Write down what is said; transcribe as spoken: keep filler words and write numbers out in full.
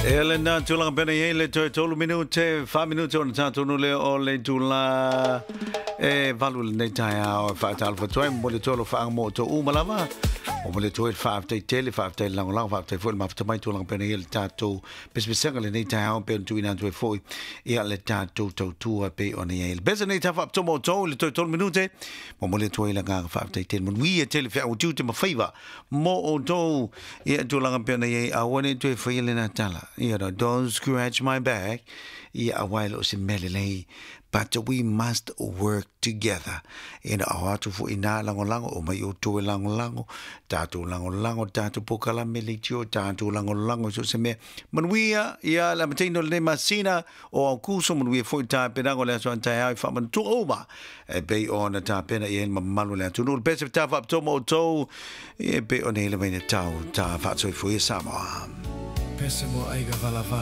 E lena tulaga pena i ai le toe tolu minute, fa minute ona tatou nu lea o le itula e valu i lenei taeao. E faatalofa atu ai, momoli atu ai alofaaga mo outou uma lava. Momoli atu ai le faafetai tele, faafetai le lagolago, faafetai foi le mafuta mai tulaga pena i ai le tatou pesepesega lenei taeao pei ona tuuina atu ai foi ia le tatou tautua pei ona i ai le pese nei tafaapitoa mo outou i le toe tolu minute. Momoli atu ai le agaga faafetai tele, manuia tele feau o tiute ma faiva mo outou ia tulaga pei ona i ai. Aua ne i toe faia lena tala, you know, don't scratch my back, ia aua e le o se mea lelei, but we must work together. Ina ao atu foi nā lagolago o mai outou e lagolago, tatou lagolago tatou polokalame leitio, tatou lagolago so se mea. Manuia ia le amataina o lenei masina o Aokuso, manuia foi tapenaga o le aso a taeao i faamanatua uma e pei ona tapena i ai le mamalu o le atunuu. Le pese faapitoa mo outou e pei ona i le vainatau ta faasoifua ia Samoa. Pese mo aiga valavala.